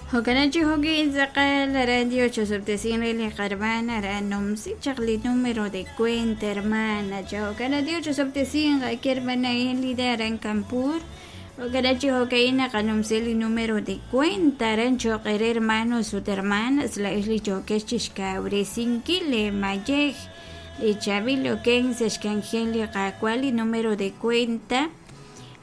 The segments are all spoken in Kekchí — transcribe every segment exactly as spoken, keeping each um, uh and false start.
Jo'kan chi jo'kin tz'aqal radio chosob'tesin re li qarmana ra numsi chaq li número de cuenta hermana cha jo'kan Dios chosob'tesin qake hermana Elida aran Kanpur jo'kan chi jo'ka'in naqanumsi li número de cuenta aran cho'q re hermanos ut hermanas la'ex li yookex chixkawresinkil le mayej li chaab'il oken sa' xk'anjel li Qaawa' li número de cuenta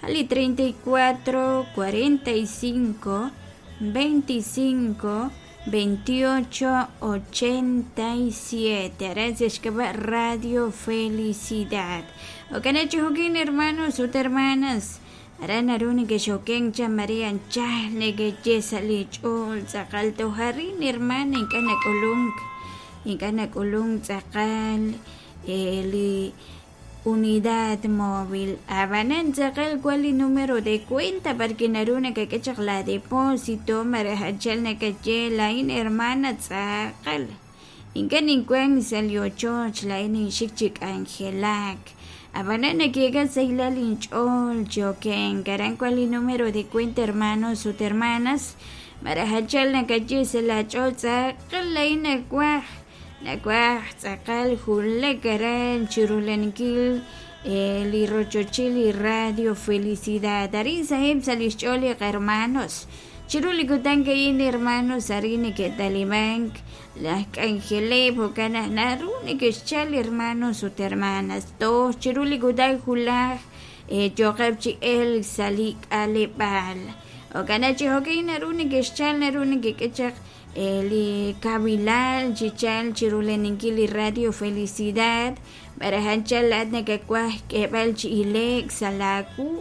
li treinta y cuatro, cuarenta y cinco, veinticinco, veintiocho, ochenta y siete. Aran sa xk'ab'a' Radio Felicidad. Jo'kan chi jo'kin hermanos ut hermanas aran naru nekexoken cha Maria anchal nekeye sa' li ch'ool tz'aqal tojarin hermana ink'a' nak'ulunk ink'a' nak'ulunk tz'aqal eh, li unidad móvil. Ab'anan tz'aqal wan li número de cuenta porque naru nakak'e chaq la depósito maraj anchal nakaye laa'in hermana tz'aqal ink'a' ninwan sa' li ochoch laa'in ninxik chi k'anjelak ab'anan nakeka sahilal inch'ool choken aran wan li número de cuenta hermanos ut hermanas maraj anchal nakaye sa' la ch'ool tz'aqal laa'in nawaj nawaj tz'aqal julak aran chirulankil eh, li rochochil li Radio Felicidad arin saheb' sa' lix ch'ool li hermanos chiru li kutan ka'in hermanos arin neke'talimank laj k'anjeleb' jo'kan naq naru neke'xchal hermanos ut hermanas toj chiru li kutan julaj eh, yooqeb' chi elk sa' li k'aleb'aal jo'kan naq chi jo'kan naru neke'xchal naru nekek'e chaq li kabilal chichal chiruleninkil li Radio Felicidad maraj anchal laat nakawaj k'eeb'al chi ileek sa' laawu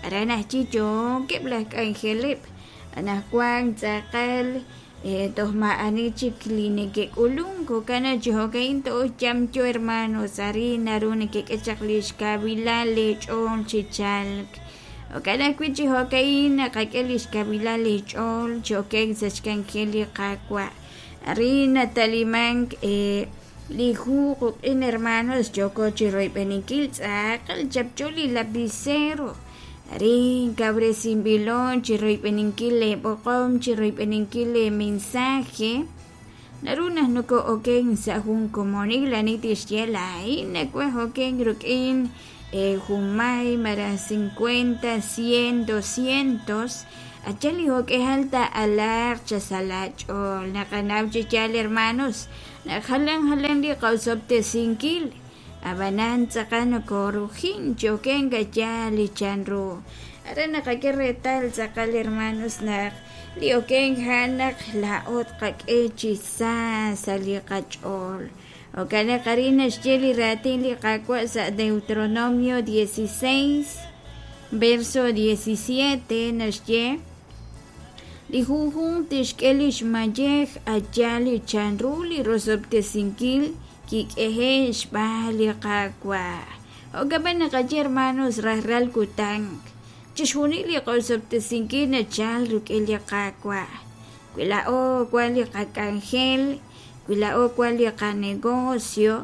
aran ajchi yookeb' laj k'anjeleb' anaqwan tz'aqal eh, toj ma'ani chik li neke'k'ulunk jo'kan naq chi jo'ka'in to'oy yamyo hermanos arin naru nekek'e chaq li xkabilal leech'ool chi chalk jo'kan ajwi' chi jo'ka'in naqak'e li xkabilal leech'ool cho'ken sa' xk'anjel li Qaawa' arin natalimank eh, li hu quk'in hermanos yooko chi royb'eninkil tz'aqal chapcho li lapicero arin kawresinb'ilon chi royb'eninkil leeb'oqom chi royb'eninkil le mensaje naru naq noko'oken sa' jun komonil ani tixye laa'in nawaj oken ruk'in eh, junmay maraj cincuenta, cien, doscientos achal li jo'k'ejal ta'alaaq cha sa' lach'ool naqanaw chi yaal hermanos naq jalan jalan li qawsob'tesinkil ab'anan tz'aqal nokorujin choken k'ayaal li chanru aran naqak'e reetal tz'aqal hermanos naq li oken ja'an naq laa'o tqak'e chi sa sa' li qach'ool jo'kan naq arin naxye li raatin li Qaawa' sa' Deuteronomio dieciséis verso diecisiete naxye li junjunq tixk'e li xmayej aya li chanru li rosob'tesinkil kik'eje' xb'aan li Qaawa' jo'kan naqaye hermanos rajlal kutan chixjunil li qosob'tesinkil nachal rik'in li Qaawa' wi laa'o wan li qak'anjel wi laa'o wan li qanegocio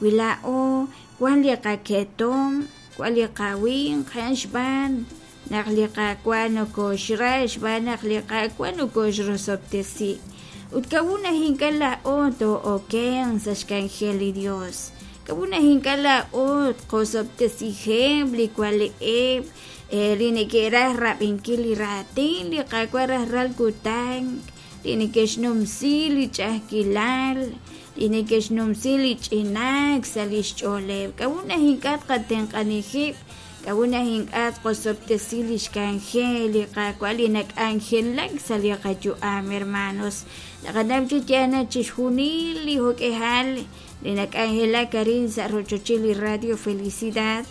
wi laa'o wan li qaketom wan li qawinq a'an xb'aan naq li Qaawa' nokoxra xb'aan naq li Qaawa' nokoxrosob'tesi ut kawun naq ink'a' laa'o to'oken sa' xk'anjel li Dios kawun naq ink'a' laa'o tqosob'tesijeb' li wale'eb' li neke'raj rab'inkil li raatin li Qaawa' rajlal kutan li neke'xnumsi li ch'a'ajkilal li neke'xnumsi li ch'inaak sa' lix ch'ooleb' kawun naq ink'a' tqatenq'anijib' kawun naq ink'a' tqosob'tesi li xk'anjel li Qaawa' li nak'anjelak sa' li qayu'am hermanos naqanaw chi yaal naq chixjunil li jo'k'ejal li nak'anjelak arin sa' rochochil li Radio Felicidad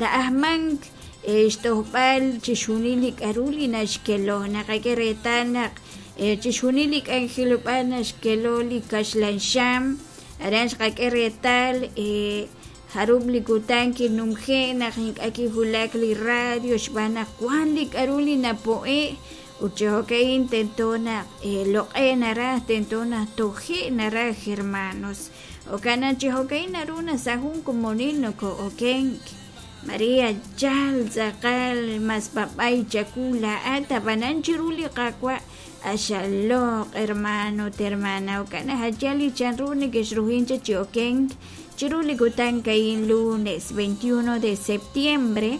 na'ajmank xtojb'al chixjunil li k'aru li naxkelo naqak'e reetal naq chixjunil li k'anjelob'aal naxkelo li kaxlan xam aran xqak'e reetal jarub' li kutan kinumje' naq ink'a' kijulak li radio xb'aan naq wan li k'aru li napo'e' ut chi jo'ka'in tento naq loq'e naraj tento naq toje' naraj hermanos jo'kan naq chi jo'ka'in naru naq sa' jun komonil noko'okenk Maria chal tz'aqal mas b'ab'ay chawu laa'at ab'anan chiru li Qaawa' axaloq hermano hermana jo'kan ajal li chanru nekexrujin cha chi okenk chiru li kutan ka'in lunes veintiuno de septiembre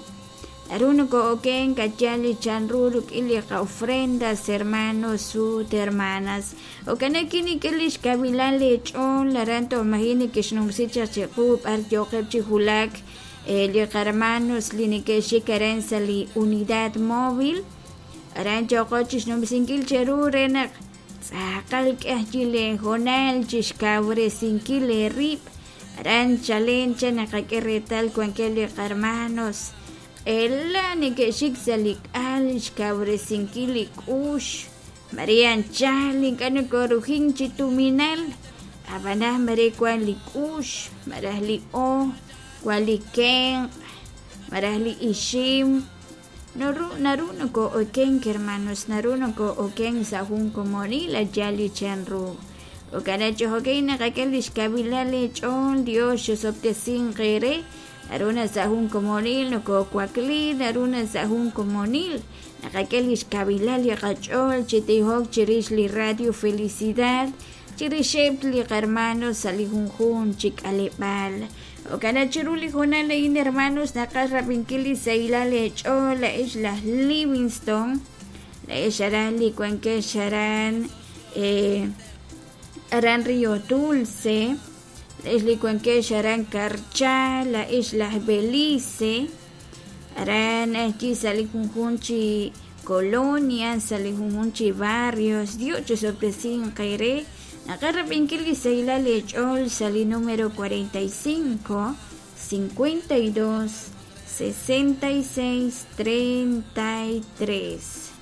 naru noko'okenk achal li chanru rik'in li qa'ofrendas hermanos ut hermanas jo'kan kinik'e li xkawilan leech'ool aran toj maji' nekexnumsi chaq chiqu b'ar yooqeb' chi wulak li qarmanos li neke'xik aran sa' li unidad móvil aran yooqo chixnumsinkil cheru re naq tz'aqal k'eh leejonal chixkawresinkil eerib' aran chalen cha naqak'e reetal wankeb' li qarmanos q'ela neke'xik sa' li k'al xkawresinkil li k'ux Maria anchal ink'a' nokorujin chi tuminal ab'anan mare wan li k'ux malaj li oj wan li kenq' malaj li ixim naru naru noko'okenk hermanos naru noko'okenk sa' jun komonil achal li chanru jo'kan chi jo'kan naqak'e li xkawilal leech'ool Dios xosob'tesinq eere naru na sa' jun komonil nokowakli naru na sa' jun komonil naqak'e li xkawilal li qach'ool chi tijok chirix li Radio Felicidad chirixeb' li qarmanos sa' li junjunq chi k'aleb'aal jo'kan chiru li hoonal a'in hermanos naqaj rab'inkil li sahilal leech'ool la'ex laj Livingston la'ex aran li wankex aran eh, aran Río Dulce la'ex li wankex aran Carchá la'ex laj Belice aran ajwi' sa' li junjunq chi colonia sa' li junjunq chi barrios Dios chisob'tesinq eere naqaj rab'inkil li sahilal leech'ool sa' li número cuarenta y cinco, cincuenta y dos, sesenta y seis, treinta y tres.